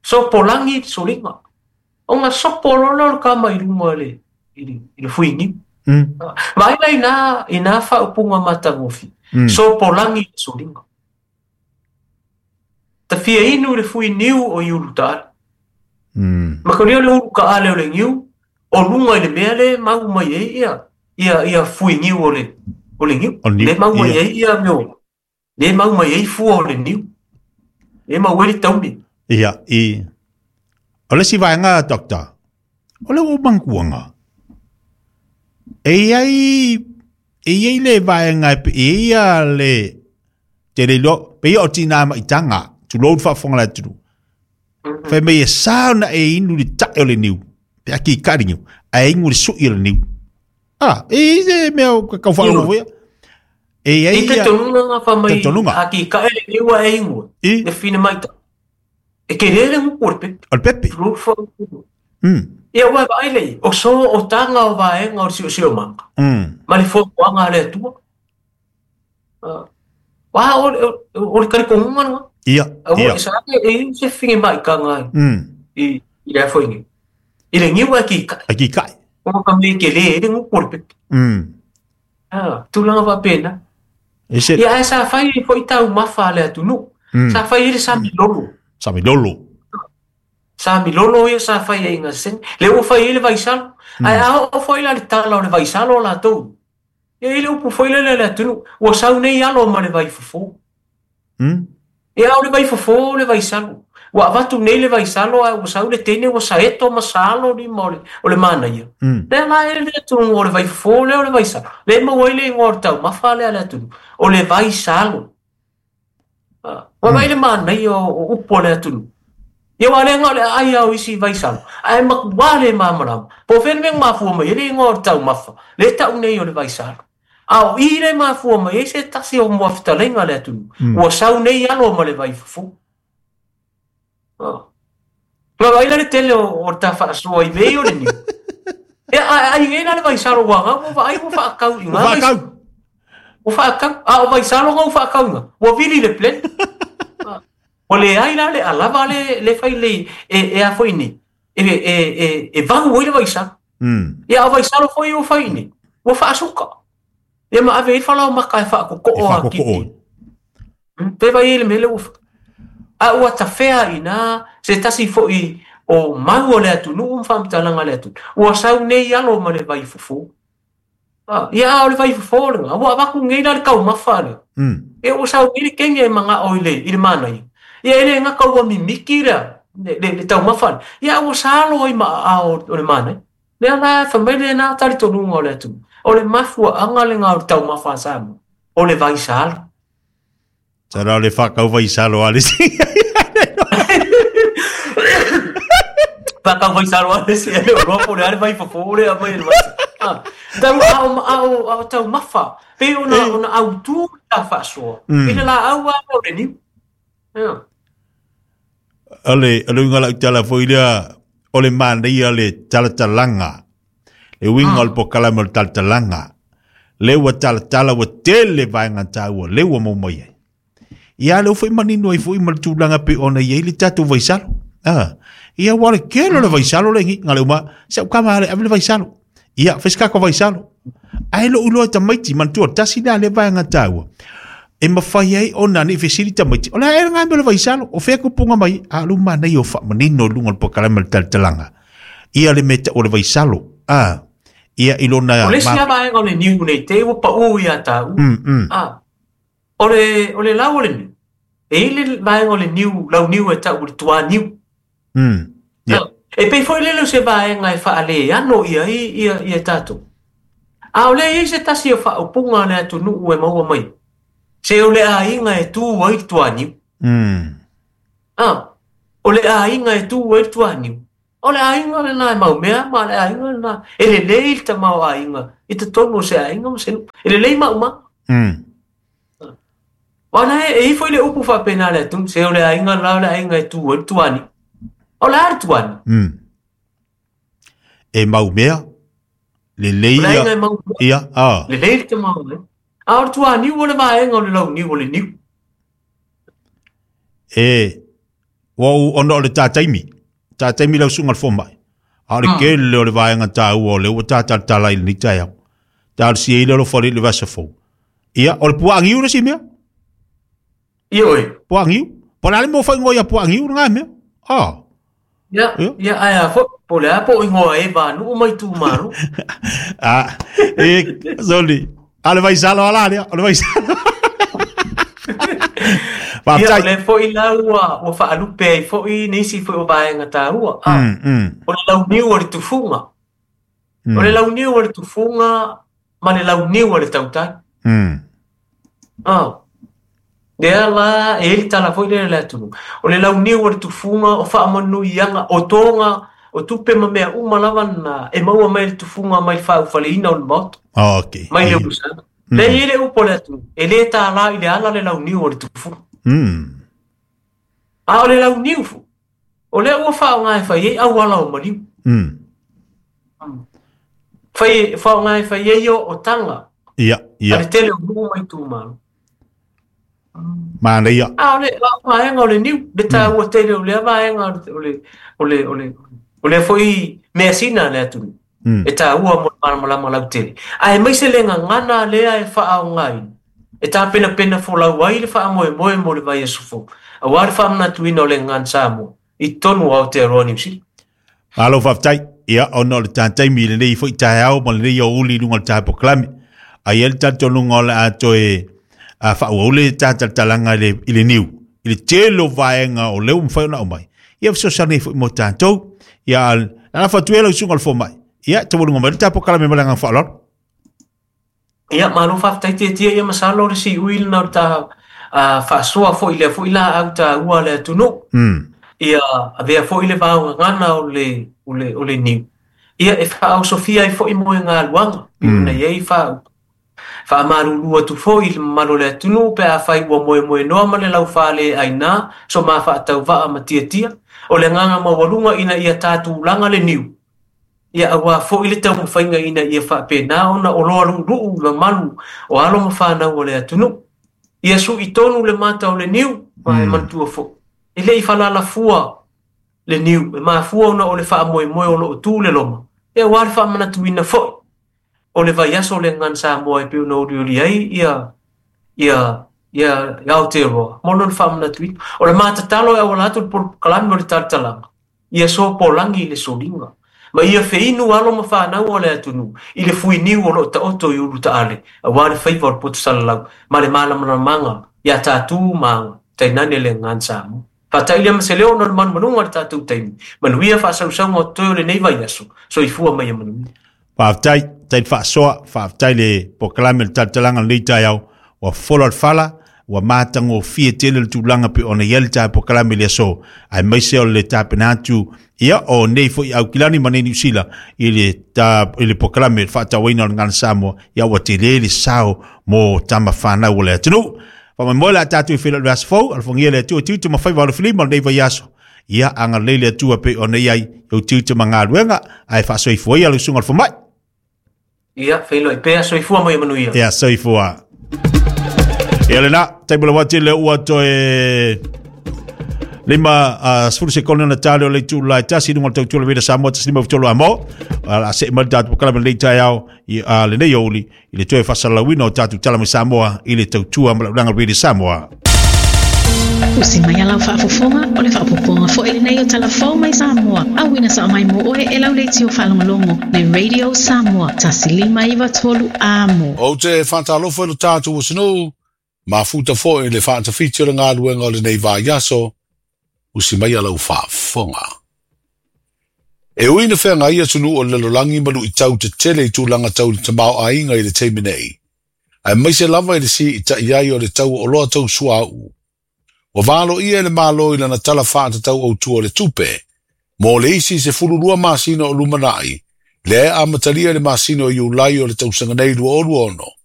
Sopo langi le solima. O ngā sopo lolo le ka mai lunga i le fui niu. Vaila ina whaupunga matangofi. Sopo langi le solima. Ta fia inu le fui niu o i ulu taale. Maka leo le ulu ka ale o le niu, o lunga i le mea le mau mai e ia ia fui niu o le niu. Le mau mai e ia meo. Le mau mai e fua o le niu. Le mau e le tauni. Ia, i. O le si vaenga, doctor. O le o mankuanga. E ai le vaenga e ia le te le lo, pe ia o tina ma itanga. Tu load whaafonga la turu. Whai mei e sauna e inu le tae o le niu. Pe aki i kari niu. A e ingu le sui o le niu. Ah, e se mea o kau whalongo voia. E ai te tonunga ngā whamai aki ka ele niu a e ingu. Le whina maita. E ke rere nguku o le pepe. O le pepe. Ia ua vai lei. O so o tanga o vaenga o le sio manga. Ma le fuafuaga a le Atua. Wā o le karikongunga nga. Ia, ia. E sa e se whinge mai ka ngai. I le afo ingi. I le ngiwa ki kai. A ki kai. O ka me ke le le nguku o le pepe. Ah, tūlanga wapena. Ia e sa whai i fo i tau mawha le atunu. Sa whai i le sa milolo. Sa milolo. Sa milolo ia sa whai e inga sen. Le o whai i le vaisalo. Ai a o whai la le tala o le vaisalo la tau. Ia i le upu whai le le atunu. Ua sau nei alo ma le vaifofo. Ia o le vaifofo o le vaisalo. Ua avatu nei le vaisalo a ua sau le tene ua saeto ma salo ni ma o le mana ia. Lea la e le atunu o le vaifofo le o le vaisalo. Le maua i le ingoa o le taumafa lea le atunu. O le vaisalo. Ua vai le mana ia o upu o le atunu. Ia wa le ngā le ai au isi vaisalo. Ai maku wā le māmarama. Po whene mea mafua mai e le ingoa o le taumafa. Le tau nei o le vaisalo. A o i le mafua mai e se tasi o mua fitalenga le atunu. Ua sau nei alo ma le vaifofo. Nga vai le tele o ta whaasua i mei o le niu. E ai ngena le vaisalo wanga, ua vaai ua whaakau i ngā. Ua whaakau. Ua whaakau. A o vaisalo ngā ua whaakau ngā. Ua vili le plen. Ua le ai la le alava le whai le e a whai ni. E vahu oi le vaisalo. Ia o vaisalo whai o whai ni. Ua whaasuka. Ia ma ave i whalau maka e whaakoko a kiti. Te vai e le mele ua A ua tawhea ina se tasi foi o mau o le atunu mwhamtalanga le atunu. Ua sau nei alo ma le vaifofo. Ia o le vaifofo le ngā. Ua avaku ngei la le kau mawha le. E ua sau ngei le kenge e manga o i le mana ia. Ia ele ngā kau wa mimiki rea le tau mawha le. Ia ua salo i maa a o le mana ia. Lea la whamele nā tari tonunga o le atunu. O le mafua anga le ngā o le tau mawha sa mo. O le vaisalo. Tara o le whakau vaisalo ale si. Whakau vaisalo ale si. O roa pore ale vaifofo le a mai le vaisalo. Tau ao tau mawha. Pe ona au tū ta whaasoa. Ina la au a o le niu. Ale, ale unga lau tala fo ilea o le mānei ale talatalanga. Le winga o le pokalama o le talatalanga. Le ua talatala ua tele vaenga tāua. Le ua mau mai ai. Ia le ufai manino ai fui ma le tūlanga pe ona i le tātou vaisalo. Ia wale kelo le vaisalo le ngi. Ngā le uma, se au kama ale, ave le vaisalo. Ia, whaiskako vaisalo. Ai lo uloa tamaiti, mantua, tasi nā le vaenga tāua. E mawhai ai ona ni whesiri tamaiti. O le ae ngā me le vaisalo, o whea kupunga mai, a lu mana i o wha manino lunga le pokalama le talatalanga. Ia le meta o le vaisalo. Ia ilona... O le sia vaenga o le niu nei, te ua pa ui a tāu. O le lau o le niu. E ile vaenga o le niu, lau niu e tau le tua niu. E pei foi lele o se vaenga e whaale ano ia i ia tātou. A o lea e i ai se tasi o faaupuga a le atunuu e maua mai, se o le aiga e tu ai le tuaniu. O le aiga e tu ai le tuaniu. O le aiga lena e maumea ma le aiga lena e lelei le tamaoaiga i totonu o se aiga ma se nuu. E lelei maumaga. Aua e i ai foi le upu faapena a le atunuu, se o le aiga la o le aiga e tu ai le tuaniu. O le a le tuaniu? E maumea, lelei O le aiga e maumea. Ia, a. Lelei le tamaoaiga. A o le tuaniu o le vaega o le launiu o le niu. E, ua ou ona o le tā taimi. Tā taimi lau susuga i le fomai. A o le tele o le vaega taua o lea ua tā talatala i lenei taeao. Talosia ai le alofa o le vasa fou. Ia, o le puaa niu le isi mea. Ia oe. Puaa niu. Po o le a le mea ua faaigoa ia puaa niu lena mea. Ah. Ia, ia, ae a foi, po o le a po o igoa e vanuu ma itumalo. Ah, e, sorry. A le vaisalo ala lea, o le vaisalo. Ia, o lea foi la ua, ua faalupe ai foi nisi foi o vaega taua. Ah, O le launiu o le tufuga. O le launiu o le tufuga ma le launiu o le tautai. Ah. Lea la, e i ai le tala foi lea i le atunuu, o le launiu o le tufuga, o faamanuiaga, o toga, o tupe ma mea uma lava na e maua mai le tufuga mai le faaufaleina o le Maota. Okay. Mai le Usaga. Lea e i ai le upu a le atunuu, e le tālā i le ala le launiu o le tufuga. A o le launiu foi, o lea ua faaaoga e fai ai auala o maliu. Fai, faaaoga e fai ai ootaga. Ia, ia. A le tele o nuu ma itumalo. Manaia. A o le vaega o le niu, le taua tele o lea vaega o le, o le, o le, o lea foi measina a le atunuu. E taua mo le malamalama lautele. Aemaise le gagana lea e faaaogaina e tapenapena folau ai le faamoemoe mo le vaiaso fou, aua le faamanatuina o le gagana Samoa i totonu o Aotearoa Niu Sila. Malo faafetai. Ia, ona o le ta taimi i lenei foi taeao ma lenei aoauli i luga o le tae polokalame. Ae i ai le talitonuga o le a toe faaauau le ta talatalaga i le, i le niu, i le tele o vaega o lea ua mafai ona aumai. Ia fesoasoani ai foi mo tatou. Ia, lafo atu ia lau susuga i le fomai. Ia, taualuga mai le ta polokalame ma le agaga faaaloalo. Ia, malo faafetai Tietie, ia masalo o le siui lena o le ta faasoa foi i lea foi laau taua a le atunuu. Ia avea foi le vaogagana o le, o le, o le niu, ia e faaosofia ai foi moegaluaga, pei ona i ai faaupu. Faamalulu atu foi i le mamalu o le atunuu pe afai ua moemoenoa ma le laufale aina so ma faatauvaa ma tiatia, o le agaga maualuga ina ia tatulaga le niu, Ia auā foi le taumafaiga ina ia faapena ona oloa luuluu i mamalu o alo ma fanau o le atunuu. Ia sui tonu le mata o le niu, ma e manatua foi, e le i falalafua le niu, e mafua ona o le faamoemoe o lo o tu le loma, e auā le faamanatuina foi o le vaiaso o le Gagana Samoa e pei ona olioli ai ia ia ia Aotearoa mo lona faamanatuina. O le ma tatalo e auala atu i le polokalame o le talatalaga, Ia sopolagi le soliga, ma ia feinu alo ma fanau o le atunuu i le fuiniu o lo o taoto i Ulutaale aua le faiva o le poto salalau ma le malamalamaga iā tatou ma aga, tainane le gagana Samoa. Faata'i lea ma se leo ona o le manumanuga o le tatou taimi. Manuia faasausauga o totoe o lenei vaiaso. Soifua ma ia manuia. Faafetai, faafetai le faasoa, faafetai le polokalame o le talatalaga o lenei taeao, ua fola le fala, ua matagofie tele le tulaga pei ona i ai le tae polokalame i le aso, aemaise o le tapena atu ia o nei foi Aukilani ma nei Niu Sila i le, ta, i le polokalame le faatauaina o le Gagana Samoa, ia ua tele le sao mo tama fanau o le atunuu. Faamoemoe le a tatou i feiloai i le vaiaso fou, alofagia le Atua tiute ma faiva alofilima o lenei vaiaso. Ia agalelei le Atua pei ona i ai i ou tiute ma galuega, ae faasoifua ia lau susuga i le fomai. Ia, feiloai pea, soifua ma ia manuia. Ia, soifua. Ia lena, taimi lava tele ua toe lima 10 sekone ona tale o le itu la e tasi i luga o le tautua le Veda Samoa 153 amo. A se mai le tatou polokalame lenei taeao i lenei aoauli i le toe faasalalauina o tatou tala mai Samoa i le tautua ma le auaunaga Radio Samoa. Usi mai a lau faafofoga, o le faaopoopoga foi lenei o tala fou mai Samoa, auina sao mai mo oe e lau leitio faalogologo le Radio Samoa 1593 Amo. Ou te faatalofa i lo tatou atunuu, mafuta foi i le faatafiti o le galuega o lenei vaiaso, usi maia lau faafofoga. E ui ina feagai atunuu o le lalolagi ma luitau tetele i tulaga tau i le tamaoaiga i le taimi nei, aemaise lava i le siitai ai o le tau o oloa tau suauu, ua valoia e le Malo i lana Tala Faatatau Autu o le Tupe mo le isi 12 masina o lumanai, lea e amatalia i le masina o Iulai o le tausaga nei 2026.